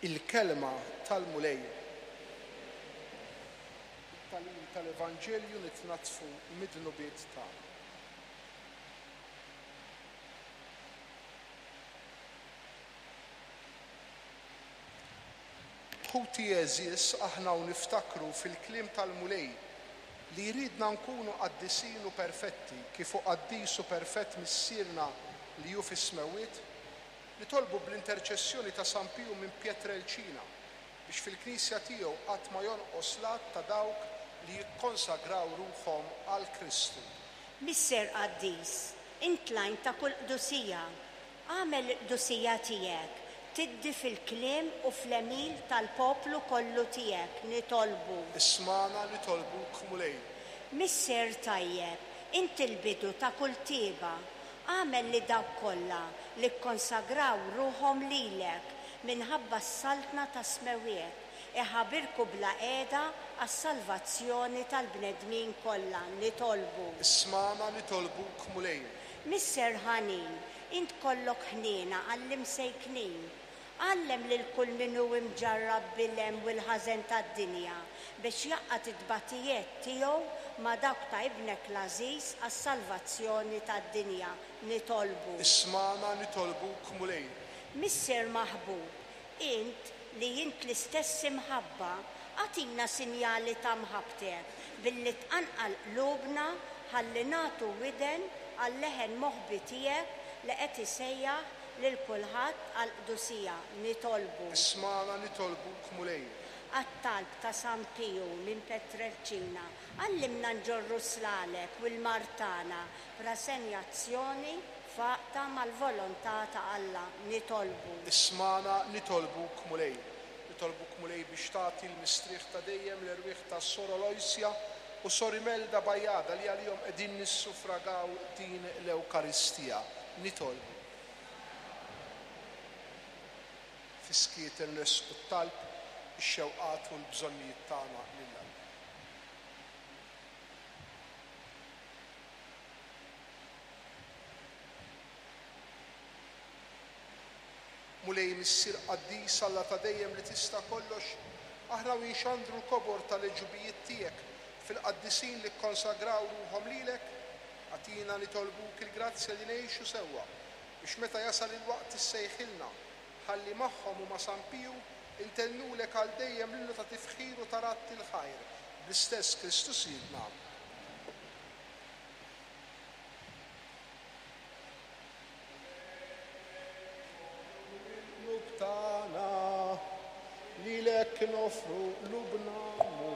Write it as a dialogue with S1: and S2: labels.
S1: Il-Kelma tal-Mulej. Bit-tagħlim tal-Evanġelju nitnaddfu mid-dnubiet tagħna. Ħuti għeżież, aħna u niftakru fil-kliem tal-Mulej li jridna nkunu qaddisin u perfetti kif hu qaddis u perfett Missierna li hu fis-smewwiet, nitolbu bl-interċessjoni ta' San Piju minn Pietrelcina biex fil-Knisja tiegħu qatt ma jonqos l-għadd ta' dawk li jikkonsagraw ruħhom għal Kristu.
S2: Missier qaddis, int l-għajn ta' kull qdusija, Agħmel il-qdusija tiegħek tiddi fil-kliem u fl-għemil tal-poplu kollu tiegħek, nitolbu.
S1: Ismagħna, nitolbuk, Mulej.
S2: Missier tajjeb, int il-bidu ta' kull tjieba, agħmel li dawk kollha li kkonsagraw ruħhom lilek minħabba s-Saltna tas-Smewwiet, iħabirku bla qiegħda għas-salvazzjoni tal-bnedmin kollha, nitolbu.
S1: Ismagħna, nitolbuk, Mulej.
S2: Missier ħanin, int kollok ħniena għall-imsejknin. Għallem lil kull min hu imġarrab bil-hemm u l-ħażen tad-dinja biex jgħaqqad it-tbatijiet tiegħu ma' dawk ta' Ibnek l-għażiż għas-salvazzjoni tad-dinja. Nitolbu.
S1: Ismagħna, nitolbuk, Mulej.
S2: Missier maħbub, int li int l-istess imħabba, agħtina sinjali ta' mħabbtek billi tqanqal qlubna ħalli nagħtu widen għal-leħen moħbi tiegħek li qed isejjaħ lil kulħadd għall-qdusija. Nitolbu.
S1: Ismagħna, nitolbuk, Mulej.
S2: Għat-talb ta' San Piju minn Petrelcina, għallimna nġorru s-slaleb u l-mard tagħna b'rasenjazzjoni f'għaqda mal-volontà ta' Alla. Nitolbu.
S1: Ismagħna, nitolbuk, Mulej. Nitolbuk, Mulej, biex tagħti l-mistrieħ ta' dejjem l-erwieħ ta' Sor Aloysia u Sor Imelda Bajada li għalihom qegħdin nissufragaw din l-Ewkaristija. Nitolbu. Fis-skiet inressqu t-talb, ix-xewqat u l-bżonnijiet tagħna lil Alla. Mulej Missier qaddis, Alla ta' dejjem li tista' kollox, aħna u inxandru l-kobor tal-għeġubijiet tiegħek fil-qaddisin li kkonsagraw ruħhom lilek, agħtina nitolbuk il-grazzja li ngħixu sewwa, biex meta jasal il-waqt issejħilna, ħalli magħhom u ma' San Piju intennulek għal dejjem l-innu ta' tifħir u ta' radd il-ħajr, bl-istess Kristu Sidna. Qlub tagħna, lilek noffru qlubna, Mulej.